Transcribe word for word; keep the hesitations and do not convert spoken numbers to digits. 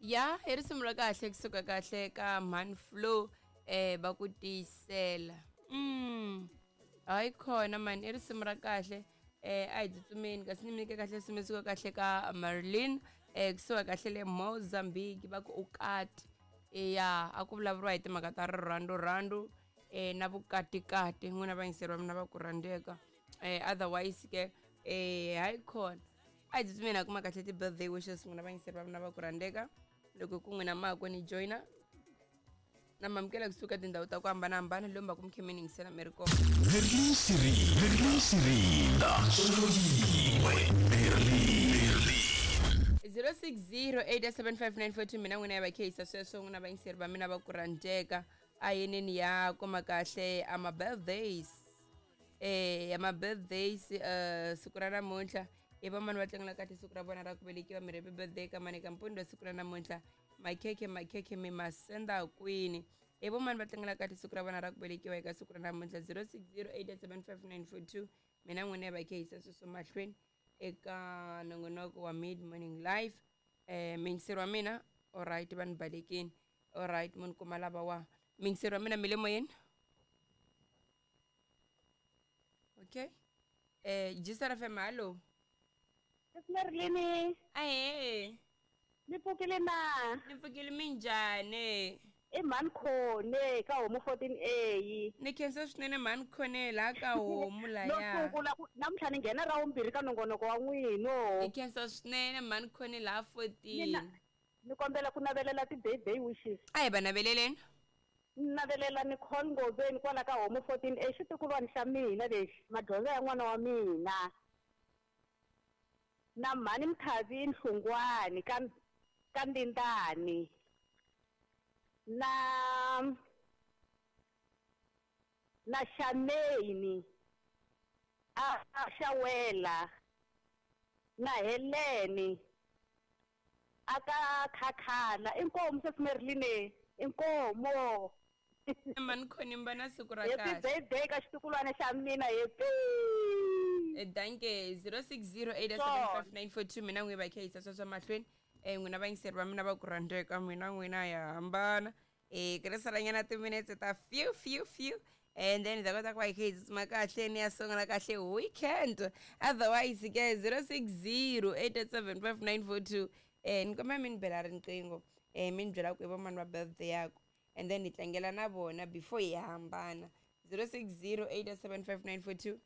Ya i risimu ra kahle kusuka kahle ka Man Flow eh va ku tiyisela. Mm hayi khona man, i risimu ra kahle eh a hi tsutsumeni kasi ni mi nyike kahle risimu suka kahle ka Marlene eh kusuka kahle le Mozambique va ku ukati. Ya a ku vulavuriwa hi timhaka ta rirhandzu rhandzu eh na vukatikati n'wina vayingiseri va mina va ku rhandzeka eh otherwise ke eh hayi khona a hi tsutsumeni a kuma kahle ti-birthday wishes n'wina vayingiseri va mina va ku rhandzeka loko ku n'wina mako ni joyina na mamukela kusuka tindhawu ta ku hambanahambana lomu va ku mi khe mi yingisela mi ri kona. Merlin Siri, Merlin Sirinda, Solo yin'we, Merlin. zero six zero eight seven five nine four two mina n'wina ya va khehisa sweswo n'wina vayingiseri va mina va ku rhandzeka a yeneni ya kuma kahle ama birthdays eh ya ma birthdays eh siku ra namuntlha i vamani va tlangela kahle siku ra vona ra ku velekiwa mi happy birthday ka mani ka mpundzu siku ra namuntlha makhekhe makhekhe mi ma senda kwini i vomani va tlangela kahle siku ra vona ra ku velekiwa eka siku ra namuntlha zero six zero eight seven five nine four two mina n'wina ya va khehisa sweswo mahlweni eka nongonoko wa mid morning live eh miyingiseri wa mina alright va ni balekini alright munhu kuma lava wa miyingiseri wa mina mi le moyeni okay eh Jisara F M hallo. Merlini. Ahee. Ni pfukile na? Ni pfukile minjhani? I mhani Khone ka homu fourteen A. Ni khensa swinene mhani Khone laha ka homu laya. No sungula ku namuntlha ni nghena ra vumbirhi ka nongonoko wa n'wina. Ni khensa swinene mhani Khone laha fourteen. Ni kombela ku navelela ti-birthday wishes. A hi va naveleleni. Ni navelela Nicole Ngoveni kwala ka homu fourteen A xitukulwana xa mina lexi madyondzo ya n'wana wa mina. Na mhani Mthavini Hlungwani ka ka Ndindani. Na na Shameni a Shawela na Heleni aka Khakhala inkomo sesimerilini inkomo mani Khone mi va na siku ra happy kahle. Birthday ka xitukulwana xa mina happy. Danke zero six zero eight seven five nine four two mina n'wi va khehisa sweswo mahlweni eh n'wina vayingiseri va mina va ku rhandzeka mina n'wina ya hambana eh tirhisalanyana timinetse ta few few few and then hi ta kota ku va hi kha hi tsutsuma kahle ni ya sungula kahle weekend otherwise ke zero six zero eight seven five nine four two eh ni kombela mi ni bela riqingho eh mi ni byela ku i vamani va birthday yaku and then hi tlangela na vona before hi hambana zero six zero eight seven five nine four two.